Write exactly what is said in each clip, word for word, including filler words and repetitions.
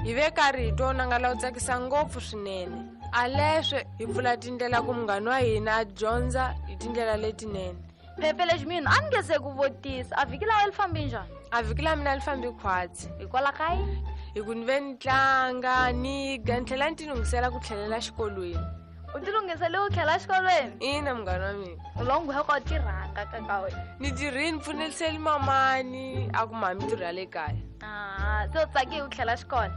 Hi ve karhi hi twa nangala wu tsakisa ngopfu swinene. A leswe hi pfula tindlela ku munghana wa hina a dyondza hi tindlela letinene. Phephe lexi mina a ni nge se ku vutisa, a vhiki la wena li fambi njhani? A vhiki la mina li fambi khwatsi. Hikwalaho ka yini? Hi ku ni ve ni tlanga, ni ga, ni tlhela ni ti lunghisela ku tlhelela xikolweni. U ti lunghisele ku tlhela xikolweni? Ina, munghana wa mina. U lo nghwe ka u tirhanga ka ka wena. Ni tirhile, ni pfuneliseli mamani, a ku mhani mintirho ya le kaya. Ah, se u tsakile ku tlhela xikolo?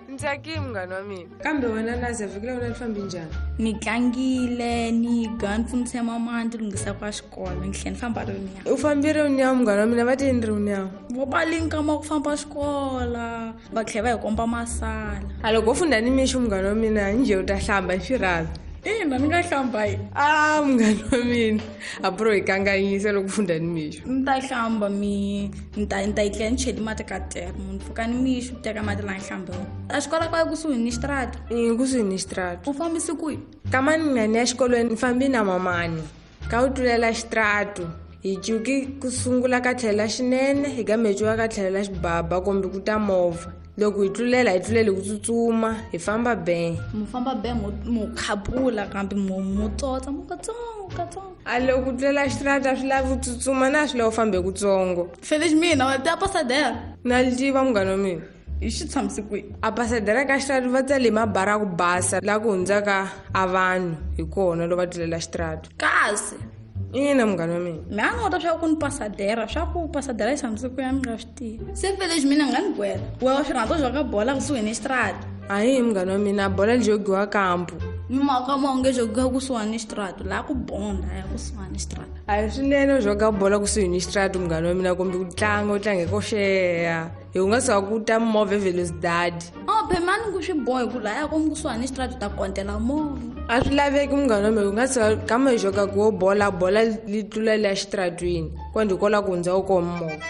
Ni tsakile, munghana wa mina. Kambe wena Nazi, vhiki la wena li fambi njhani? Ni tlangile, ni ga, ni pfunise mamani, ni ti lunghisa ku ya xikolo, ni tlhela ni famba rinyawo. U fambile rinyawo, munghana wa mina, va te yini rinyawo? Vo ba li nkama ku famba xikolo, va tlhela va hi komba masala. A loko u funda ni mixo, munghana wa mina, njhe u ta hlamba hi xirhami? Ina, ni nga hlamba yi. Ah, munghana wa mina, a bro hi kanganyisa loko u funda ni mixo. Ni ta hlamba mi, ni ta, ni ta yi tlela ni cheli mati ka tere, munhu pfuka ni mixo, u teka mati laha ni hlambe wona. A xikolo ka kusuhi ni xitarata? I, kusuhi ni xitarata. U fambise kwihi? Kama ni nga ni ya xikolweni, ni fambi na mamani. Ka u tlulela xitarata, hi cuki ku sungula ka tlhelo la xinene, hi ka mecuka ka tlhelo la xibaba kumbe ku ta movha. Loko hi tlulela, hi tlulele ku tsutsuma, hi famba be. Mu famba be, mu, mu khapula kambe mu, mu tsotsa, mu katsongo, katsongo. A loko ku tlulela xitarata swi lava ku tsutsuma, na swi lava u fambe kutsongo. Felix mina, wa tiva pasadera? Na li tiva, munghana wa mina. Hi xi tshamise kwihi? A pasadera ka xitarata va tsale hi mabara ya ku basa, laha ku hundzaka a vanhu hi kona loko va tlulela xitarata. Kasi? Ina, munghana wa mina. Mi a ni vota swa ku ni pasadera, swa ku pasadera yi tshamise kwihi a ni nga swi tivi. Se Felix mina nga ni gwela. Wehe wa swi rhandza swa ka bola kusuhi ni xitarata? Ahi, munghana wa mina, bola li jogiwa kampu. Mi mhaka ma onge jogiwa kusuhani ni xitarata, laha ku bonda ya kusuhani ni xitarata. A hi swinene u joga bola kusuhi ni xitarata, munghana wa mina, kumbe ku tlanga, u tlange ko xeya. Hi ku nga suka ku ta movha eVelosdad. Oh, phela mani ku swi bohi ku lahaya komu kusuhani ni xitarata u ta kontela movha. A swi laveki, munghana wa mina, ku nga suka kama hi joga ku wo bola, bola li tlula liya xitaratwini, kwandi hi kola ku hundza wu kona movha.